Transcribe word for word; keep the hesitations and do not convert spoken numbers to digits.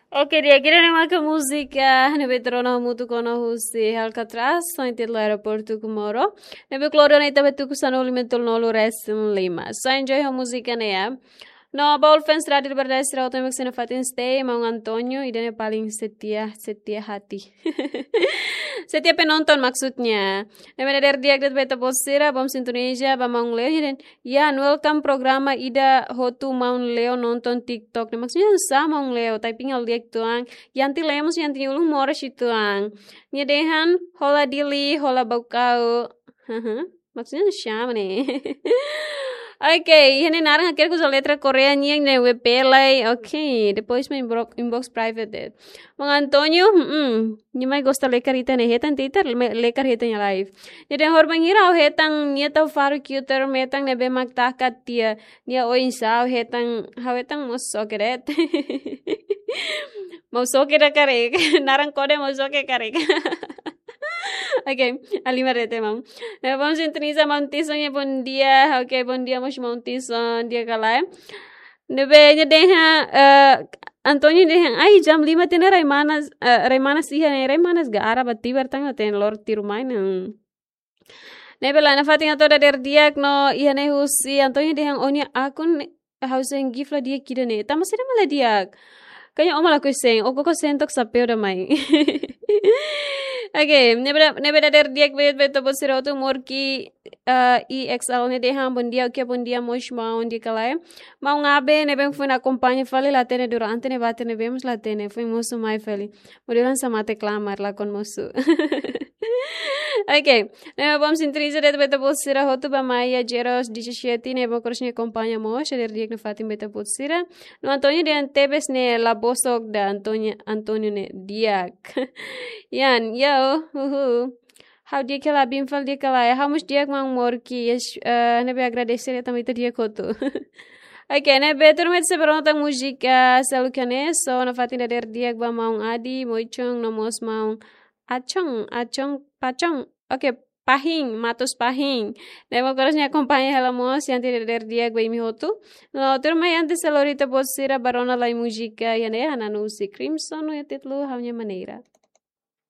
Oke, di'ak, ida-ne'e maka múzika ne'ebé tuur ona hamutuk ona husi Alcatraz, ho títulu Aeroportu Comoro. Ne'ebé klore ona iha ne'ebé tuku sanulu-resin-nulu resin-lima. So enjoy ho múzika ne'e, ya. No, ba all fans Rádio Liberdade sira hotu mak sira nafatin stay, maun Antonio, ida-ne'e paling setia, setia hati. Setia penonton maksudnya. Ne'ebé dadeer di'ak de'it ba ita-boot sira, bom sintoniza, ba maun Leo, ya, dan, ya, welcome programa ida hotu maun Leo nonton TikTok. Ne'e maksudnya sá maun Leo, tapi ngal di'ak tuan. Yanti Lemos, Yanti ulun moras uitoan. Nia dehan, hola Dili, hola Baucau. Haha. Maksudnya siapa nih? Oke, iha ne'e naran hakerek uza letra Korea nian ne'e W P lai. Oke, depois mak inbox, inbox private de'it. Maun Antonio, hmm, nia mai gosta lekar ita ne'e hetan Twitter, me-, lekar hetan nia live. Nia dehan horibainhira ha'u hetan nia tau faru cuter metan ne'ebé mak taka tiha. Nia oinsá ha'u hetan, ha'u hetan mós soke de'it. Mau soke ida karik, naran kode mau soke karik. Oke, halimar de'it maun. Nah, bom sintoniza maun Tison, ya, bom dia. Oke, bom dia mós maun Tison, di'ak ka lae. Ne'ebé nia dehan, eh, Antonio dehan, ai, jam lima tiha ona rai manas, eh, rai manas iha ne'e, rai manas ga ara ba tibar tang, ten lor tiru mai ne'e. Ne'ebé la nafatin atu dadeer di'ak no iha ne'e husi Antonio dehan ó-nia akun ne'e ha'u sei gift la di'ak ida-ne'e. Tanba saida mak la di'ak? Kayaknya ó mak lakohi send, ó koko send tok sapeu ida mai. Oke, ne'ebé da-, ne'ebé dadeer di'ak ba ita-boot sira hotu. Morki, eh, E X L nia dehan, bom dia, oke, bom dia mós maun, di'ak ka lae. Maun Abe, ne'ebé foin akompaña fali la hatene durante ne'ebá, ne'ebé mós la hatene, foin mosu mai fali. Modelu hanesan mate klamar lakon mosu. Oke, ne'ebé bom sintoniza de'it ba ita-boot sira hotu, ba Maia Jeros, D J Shetty, ne'ebé mós nia akompaña mós, dadeer di'ak nafatin ba ita-boot sira. No Antonio dehan tebes ne'e la bosok ida Antonio, Antonio ne'e di'ak. Yan, yo, uhu. Ha'u di'ak ka lae, bin fal di'ak ka lae. Ha'u mós di'ak maun Morki, yes, eh, ne'ebé agradese de'it tanba ita di'ak hotu. Oke, ne'ebé tuirmai ita sei bá rona tan múzika seluk iha ne'e, so nafatin dadeer di'ak ba maun Adi, Moichong, no mós maun Achong, Achong, Pachong. Oke, Pahin, Matos Pahin. Ne'ebé mós nia akompaña hela mós, Yanti dadeer di'ak ba imi hotu. No, tuirmai antes sei lori ita-boot sira bá rona lai múzika iha ne'e, hananu husi Crimson, no iha títulu Ha'u-nia Maneira.